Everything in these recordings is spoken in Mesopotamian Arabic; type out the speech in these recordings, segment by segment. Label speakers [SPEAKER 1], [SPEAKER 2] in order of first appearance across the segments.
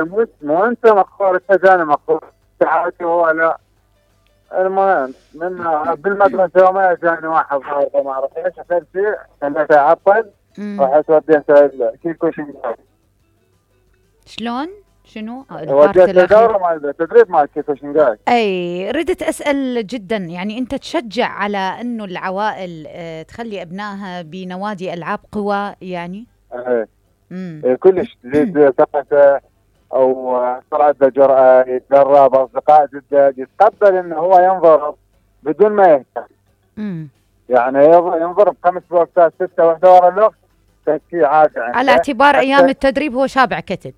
[SPEAKER 1] مو انت مقهور، انت جاني مقهور ساعتي هو لا. المهم من بالمدرسه وما جاني واحد ضاربه ما اعرف ايش، اخذت شيء خليته يعطل، رحت وديته كيكو شنقاي.
[SPEAKER 2] شلون؟ شنو؟ البارت
[SPEAKER 1] وديته
[SPEAKER 2] الاخير
[SPEAKER 1] دوره مال التدريب مال كيكو شنقاي.
[SPEAKER 2] اي ردت اسال جدا، يعني انت تشجع على انه العوائل تخلي ابنائها بنوادي العاب قوى يعني؟
[SPEAKER 1] ايه
[SPEAKER 2] امم
[SPEAKER 1] كلش تزيد ثقته، او طلعت له جرأة، يتدرب، اصدقاء جدد، يتقبل انه هو ينضرب بدون ما يهتم.
[SPEAKER 2] امم
[SPEAKER 1] يعني ينضرب 5 بوكسات 6 واحدة ورا الوقت تسكيه عادي
[SPEAKER 2] على
[SPEAKER 1] عنده.
[SPEAKER 2] اعتبار ايام
[SPEAKER 1] حتى
[SPEAKER 2] التدريب هو شابع كتل.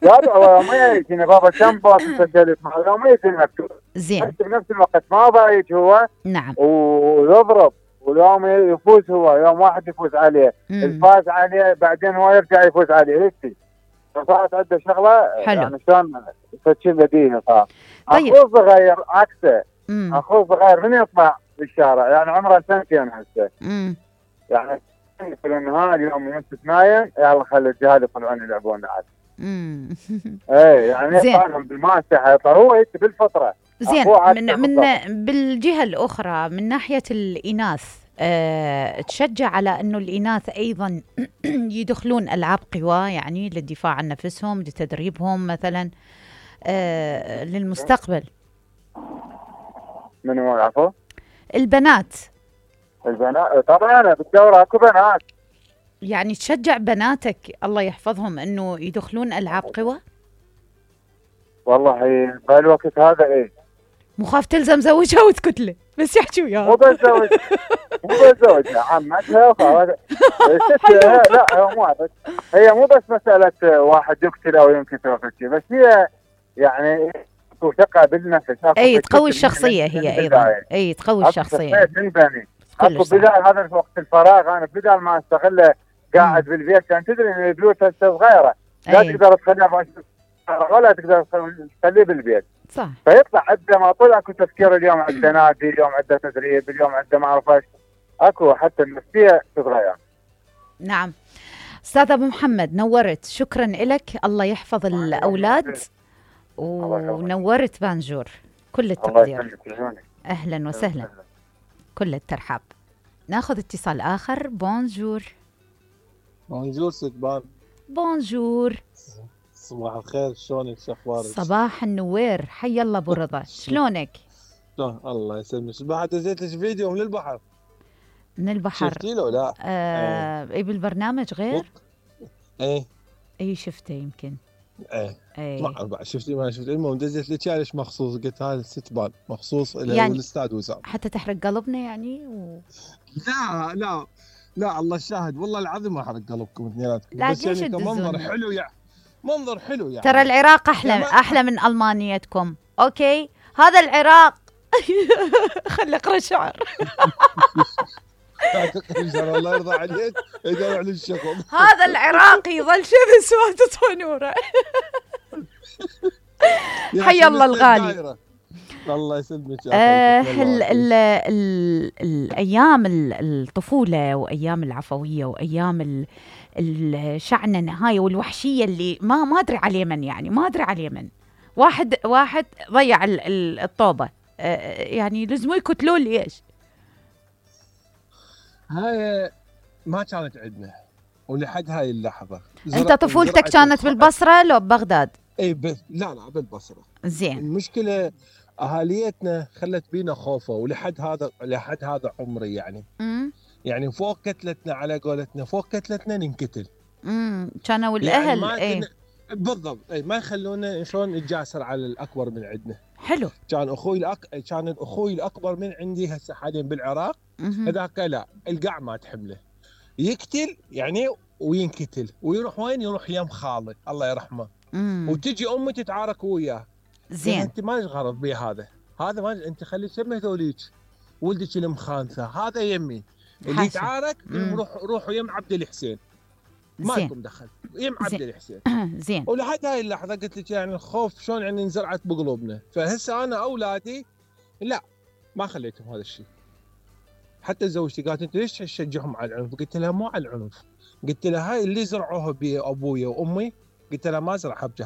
[SPEAKER 1] هذا هو يوم يجيني بابا كم بوكس سجلت معه، يوم يجيني مكتوب.
[SPEAKER 2] زين.
[SPEAKER 1] حتى بنفس الوقت ما ضايج هو
[SPEAKER 2] نعم.
[SPEAKER 1] ويضرب، واليوم يفوز هو، يوم واحد يفوز عليه، الفاز عليه بعدين هو يرجع يفوز عليه هيك. فصارت عنده شغله
[SPEAKER 2] حلو.
[SPEAKER 1] يعني شلون تشيل بديهي صار.
[SPEAKER 2] طيب.
[SPEAKER 1] اخوه الصغير عكسه. اخوه الصغير من يطلع بالشارع يعني عمره سنتين هسه. يعني في النهار اليوم يمسك نايم، يلا خلي الجهال يطلعون يلعبون عاد. ايه يعني يطلعون بالماسحه، يطلع هو هيك بالفطره.
[SPEAKER 2] زين. من بالجهه الاخرى من ناحيه الاناث، تشجع على انه الاناث ايضا يدخلون العاب قوى يعني للدفاع عن نفسهم، لتدريبهم مثلا للمستقبل.
[SPEAKER 1] من هو العفو؟
[SPEAKER 2] البنات
[SPEAKER 1] طبعا بالدوره اكو بنات.
[SPEAKER 2] يعني تشجع بناتك الله يحفظهم انه يدخلون العاب قوى؟
[SPEAKER 1] والله بهالوقت هذا ايه،
[SPEAKER 2] مو خاف تلزم زوجها وتكت له بس يحكي وياها.
[SPEAKER 1] مو بس زوجها عمتها لا هي مو بس مساله واحد يقتل او ينكسر او شيء، بس هي يعني ثقه بالنفس.
[SPEAKER 2] اي تقوي الشخصيه هي ايضا. اي تقوي الشخصيه
[SPEAKER 1] تنبني. اكو بدال هذا وقت الفراغ انا بدال ما استغله قاعد بالبيت، كان تدري ان البيوت هسه صغيره لا تقدر تخليها ولا تقدر تخليه بالبيت.
[SPEAKER 2] صح.
[SPEAKER 1] فيطلع عنده ما طلع اكو تفكير، اليوم عنده نادي، اليوم عنده تدريب، اليوم عنده ما اعرف ايش، اكو حتى النفسيه تتغير.
[SPEAKER 2] نعم. استاذ ابو محمد نورت، شكرا لك، الله يحفظ الاولاد ونورت بانجور. كل التقدير. اهلا وسهلا. كل الترحاب. ناخذ اتصال اخر. بونجور.
[SPEAKER 3] بونجور ستبان.
[SPEAKER 2] بونجور.
[SPEAKER 3] صباح الخير، شلونك؟ شو اخبارك؟
[SPEAKER 2] صباح النوير، حي الله ابو رضا، شلونك؟
[SPEAKER 3] الله يسلمك. بعد دزيت لك فيديو من البحر.
[SPEAKER 2] من البحر
[SPEAKER 3] شفتي له لا؟
[SPEAKER 2] اي بالبرنامج غير؟
[SPEAKER 3] اي
[SPEAKER 2] شفته يمكن.
[SPEAKER 3] ما بعد شفتي ما شفتي. المهم دزيت لك ليش مخصوص، قلت هذا ستبان مخصوص
[SPEAKER 2] يعني
[SPEAKER 3] الاستاذ وسام
[SPEAKER 2] حتى تحرق قلبنا يعني
[SPEAKER 3] لا الله الشاهد، والله العظيم ما حرق قلبكم اثنيناتكم،
[SPEAKER 2] بس يعني
[SPEAKER 3] كمنظر حلو يعني. منظر حلو يعني.
[SPEAKER 2] ترى العراق احلى من المانيتكم. اوكي هذا العراق. خلي اقرا شعر.
[SPEAKER 3] الله يرضى عليك يدور على الشغل.
[SPEAKER 2] هذا العراق يظل شمس وتطفى نوره. حي الله الغالي.
[SPEAKER 3] الله يسلمك.
[SPEAKER 2] الايام الطفوله وايام العفويه وايام الشعنه هاي والوحشيه اللي ما ادري على اليمن، يعني ما ادري على اليمن. واحد ضيع الطوبه، يعني لازم يقتلوا لي ايش.
[SPEAKER 3] هاي ما كانت عندنا ولحد هاي اللحظه.
[SPEAKER 2] انت طفولتك كانت بالبصره لو ببغداد؟
[SPEAKER 3] اي لا بالبصره.
[SPEAKER 2] زين.
[SPEAKER 3] المشكله اهاليتنا خلت بينا خوفه، ولحد هذا عمري يعني. يعني فوق كتلتنا، على قولتنا فوق كتلتنا ننقتل.
[SPEAKER 2] كانوا الاهل
[SPEAKER 3] يعني بالضبط ما يخلونا شلون نتجاسر على الاكبر من عندنا.
[SPEAKER 2] حلو.
[SPEAKER 3] كان اخوي الاكبر من عندي هسه حاليا بالعراق، هذاك لا القاع ما تحمله، يقتل يعني وينقتل ويروح وين؟ يروح يم خاله الله يرحمه. وتجي امي تتعارك وياه.
[SPEAKER 2] زين.
[SPEAKER 3] انت ما لك غرض بيه هذا ما انت خلي تسمي هذوليك ولدك المخانثه، هذا يمي اللي يتعارك روحوا يم عبد الحسين، ما لكم دخل، يم عبد الحسين.
[SPEAKER 2] زين.
[SPEAKER 3] ولحد هاي اللحظه قلت لك يعني الخوف شلون يعني انزرعت بقلوبنا. فهسه انا اولادي لا ما خليتهم هذا الشيء. حتى زوجتي قالت انت ليش تشجعهم على العنف؟ قلت لها مو على العنف، قلت لها هاي اللي زرعوها بابويا وامي قلت له ما راح ابجح